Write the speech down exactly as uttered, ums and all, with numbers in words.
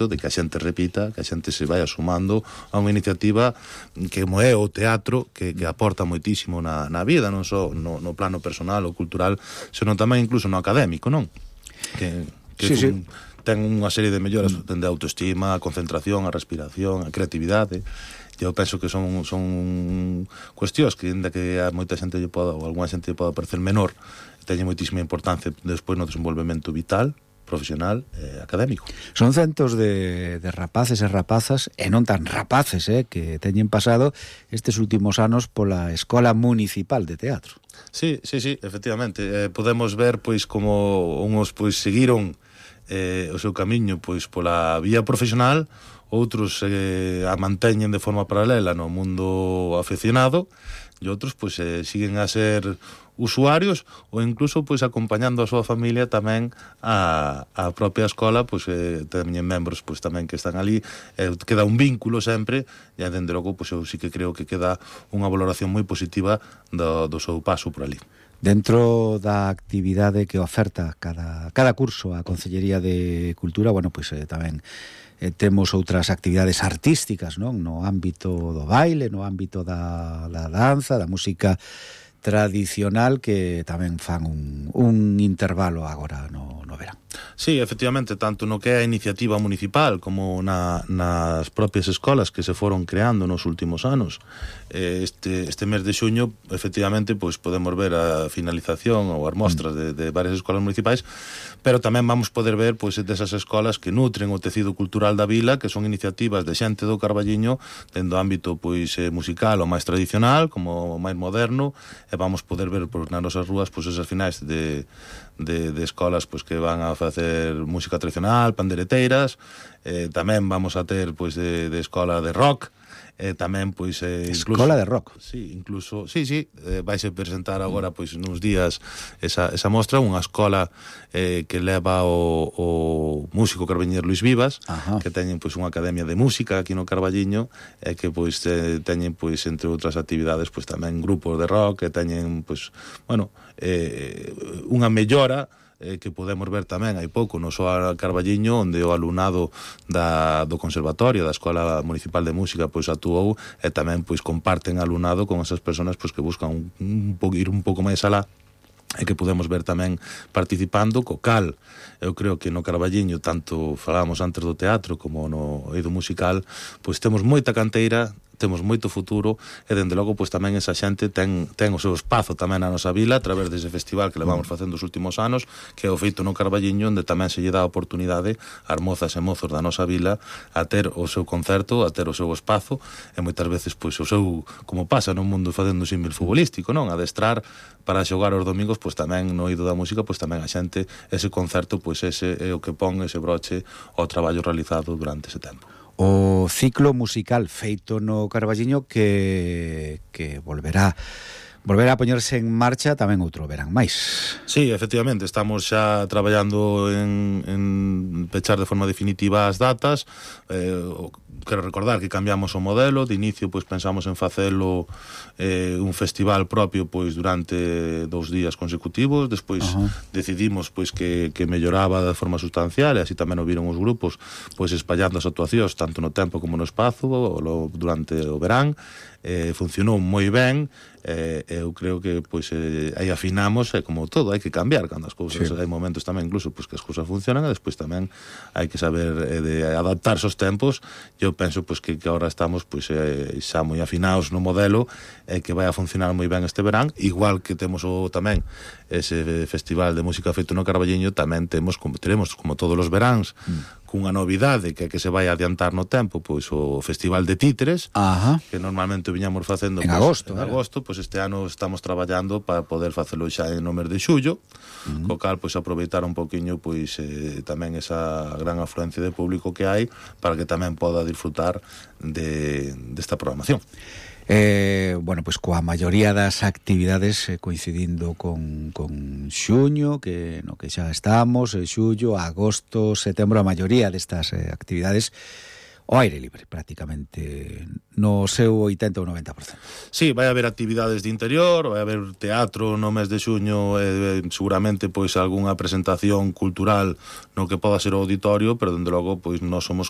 de que a xente repita, que a xente se vaya sumando a unha iniciativa que como é o teatro, que, que aporta moitísimo na, na vida, non só no, no plano personal ou cultural, senón tamén incluso no académico, non? Que, que sí, un, sí. ten unha serie de melloras dende a autoestima, a concentración, a respiración, a creatividade. Eu penso que son, son cuestións que, ainda que a moita xente lle poda, ou algunha xente lle poda parecer menor, teñen moitísima importancia despois no desenvolvemento vital, profesional e eh, académico. Son centos de, de rapaces e rapazas, e non tan rapaces, eh, que teñen pasado estes últimos anos pola Escola Municipal de Teatro. Sí, sí, sí, efectivamente. Eh, podemos ver, pois, como uns, pois, seguiron eh, o seu camiño, pois, pola vía profesional, outros eh, a manteñen de forma paralela no mundo aficionado, e outros, pois, eh, siguen a ser usuarios ou incluso pois acompañando a súa familia tamén a, a propia escola, pois eh, teñen membros pois tamén que están ali, eh, queda un vínculo sempre, e dende logo pois eu sí que creo que queda unha valoración moi positiva do, do seu paso por ali. Dentro da actividade que oferta cada, cada curso a Consellería de Cultura, bueno, pois eh, tamén eh, temos outras actividades artísticas, non? No ámbito do baile, no ámbito da, da danza, da música tradicional, que tamén fan un, un intervalo agora no, no verán. Sí, efectivamente, tanto no que é a iniciativa municipal como na, nas propias escolas que se foron creando nos últimos anos. Este, este mes de xuño, efectivamente, pois podemos ver a finalización ou as mostras de, de varias escolas municipais, pero tamén vamos poder ver pois desas escolas que nutren o tecido cultural da vila, que son iniciativas de xente do Carballiño dentro do ámbito pois musical o máis tradicional como o máis moderno, e vamos poder ver pois, nas nosas rúas pois esas finais de, de, de escolas pois que van a facer música tradicional, pandereteiras, eh, tamén vamos a ter pois de, de escola de rock, eh, tamén pois eh, incluso, escola de rock. Sí, incluso, sí, sí, eh, vaise presentar agora pois nuns días esa, esa mostra, unha escola eh, que leva o, o músico carballiñer Luis Vivas. Ajá. Que teñen pois unha academia de música aquí no Carballiño, e que pois eh, teñen pois entre outras actividades pois tamén grupos de rock, que teñen pois, bueno, eh, unha mellora eh, que podemos ver tamén hai pouco no Soar Carballiño, onde o alumnado da, do Conservatorio, da Escola Municipal de Música pois actuou, e tamén pois comparten alumnado con esas persoas pois que buscan un, un, un, ir un pouco máis alá, e que podemos ver tamén participando, co cal eu creo que no Carballiño, tanto falábamos antes do teatro como no eido musical, pois temos moita canteira, temos moito futuro, e dende logo pois tamén esa xente ten, ten o seu espazo tamén na nosa vila a través dese festival que levamos facendo os últimos anos, que é o feito no Carballiño, onde tamén se lle dá a oportunidade ás mozas e mozos da nosa vila a ter o seu concerto, a ter o seu espazo, e moitas veces pois o seu, como pasa no mundo facendo símil futbolístico, non? Adestrar para xogar os domingos, pois tamén no eido da música, pois tamén a xente, ese concerto, pois ese é o que pon ese broche ao traballo realizado durante ese tempo. O ciclo musical feito no Carballiño que, que volverá volverá a poñerse en marcha tamén outro verán máis. Sí, efectivamente, estamos xa traballando en, en pechar de forma definitiva as datas. eh, quero recordar que cambiamos o modelo. De inicio pois pensamos en facelo eh, un festival propio pois durante dous días consecutivos, despois uh-huh. decidimos pois que, que melloraba de forma sustancial, e así tamén o viron os grupos pois espallando as actuacións tanto no tempo como no espazo lo, durante o verán. Eh, funcionou moi ben. Eh, eu creo que pois eh, aí afinamos, e como todo hai que cambiar cando as cousas, sí. Hai momentos tamén incluso pois que as cousas funcionan, e despois tamén hai que saber eh, de adaptarse aos tempos. Eu penso pois que, que agora estamos pois eh, xa moi afinados no modelo, e eh, que vai a funcionar moi ben este verán, igual que temos o tamén ese festival de música feito no Carballiño, tamén temos como teremos como todos os veráns mm. cunha novidade que que se vai adiantar no tempo, pois o Festival de Títeres. Ajá. Que normalmente viñamos facendo en pois, agosto, en agosto, pois este ano estamos traballando para poder facelo xa no mes de xullo, uh-huh. co cal pois aproveitar un poquinho pois eh, tamén esa gran afluencia de público que hai, para que tamén poda disfrutar de desta programación. Eh, bueno, pois coa maioría das actividades eh, coincidindo con, con xuño, que no que xa estamos, eh, xullo, agosto, setembro, a maioría destas eh, actividades o aire libre, prácticamente no seu oitenta ou noventa por cento. Sí, vai haber actividades de interior, vai haber teatro no mes de xuño, e eh, seguramente pois algunha presentación cultural no que poda ser o auditorio, pero dende logo pois nós somos